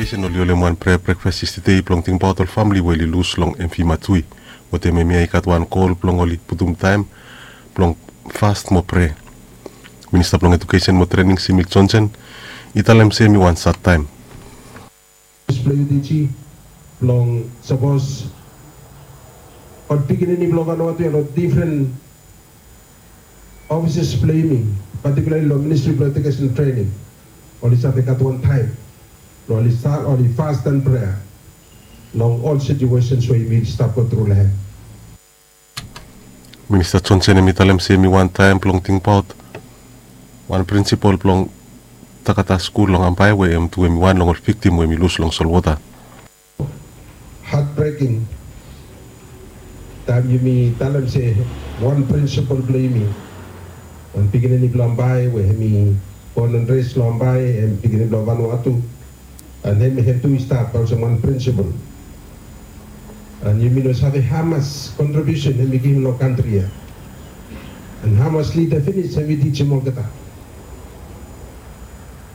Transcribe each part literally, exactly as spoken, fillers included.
Education oli holem wan prea brekfas yestede blong tingbaot ol famili we oli lus long Emphima Tui. Wetem hemia i gat wan gol blong oli putum taem blong fas mo prea. Minista blong Education mo Trening Simi Johnson i talem se hemi wan sad taem. Blong sapos ol pikinini blong Vanuatu long difren offices blong yumi, particularly long Ministry blong Education Training, oli save gat wan taem blong oli stat, oli fas an prea long ol situations we yumi stap go tru long hem. Minista Johnson hemi talem se hemi wan taem blong tingbaot wan prinsipol blong Takata skul long Ambae we hem tu hemi wan long ol viktim we hemi lus long solwota. Heartbreaking taem yumi talem se wan prinsipol blong yumi, wan pikinini blong Ambae we hemi bon an res long Ambae, hem pikinini blong Vanuatu, an hem, hem tu i stap olsem wan prinsipol. An yumi no save hamas kontribiusen hemi givim long kantri ya, an hamas lida finis hemi tijim olgeta.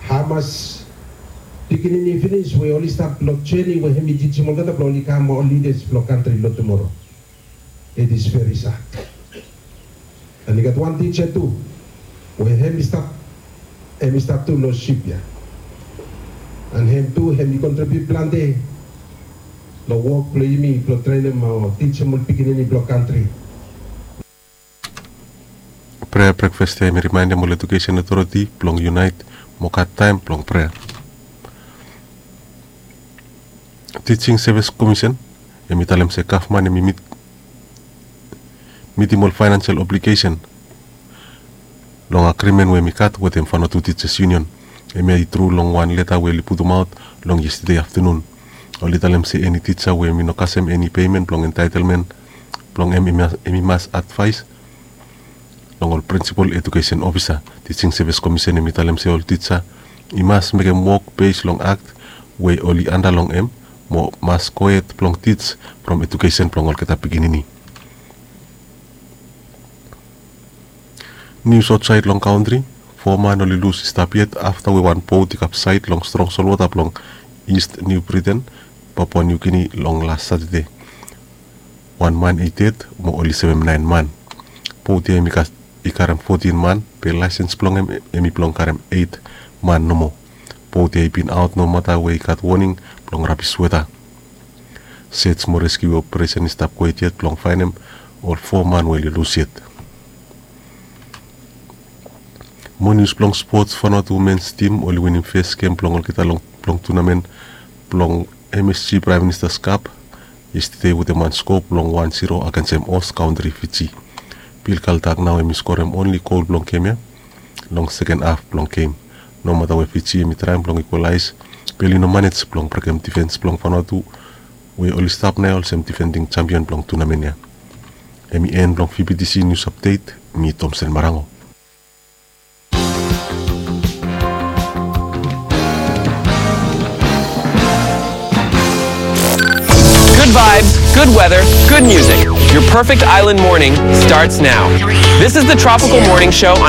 Hamas pikinini finis we oli stap long jeni we hemi tijim olgeta blong oli kam ol lidas blong kantri long tumoro. It is very sad. An i gat wan tija tu we hemi stap, hemi stap tu long sip ya. An hem tu hemi kontribiut plante long wok blong yumi blong trenem o tijim ol pikinini blong kantri. Prea brekfas ya hemi rimaendem ol Education Authority blong yunaet mo gat taem blong prea. Teaching Service Commission hemi talem se gavman hemi mit, mitim ol faenansial obligesen long agrimen we hemi gat wetem Vanuatu Teachers Union. Hemia i tru long wan leta we oli putumaot long yestede aftenun. Oli talem se eni tija we hemi no kasem eni pemen blong entaetelmen blong hem, hemi mas advaes long ol prinsipol edukesen ofisa. Teaching Service Commission hemi talem se ol tija i mas mekem wok bes long akt we oli anda long hem mo mas gohed blong tij from edukesen blong olgeta pikinini. Nius aotsaed long kantri, fo man oli lus i stap yet afta we wan bot i kapsaed long strong solwota blong East New Britain, Papua New Guinea long las Satade. Wan man i ded mo oli sevem naen man. Bot ya hemi gat, i karem fotin man, be laesens blong hem hemi blong karem eit man nomo. Bot ya i bin aot nomata we i gat woning blong rabis weta. Sej mo reskiu operesen i stap gohed yet blong faenem ol fo man we oli lus yet. Mo nius blong spots, Vanuatu mens tim oli winim fes gem blong olgeta long, blong tunamen blong M S G Prime Minister's Cup yestede wetem wan sko blong wan zero agensem hos kantri Fiji. Bill Caldack nao hemi skorem onli gol blong gem ya long seken haf blong gem. Nomata we Fiji hemi traem blong ikwalaes, be oli no manej blong brekem difens blong Vanuatu we oli stap nao olsem difending jampion blong tunamen ya. Hemi en blong V B T C News Update, mi Tomsen Marango. Good vibes, good weather, good music. Your perfect island morning starts now. This is the Tropical Morning Show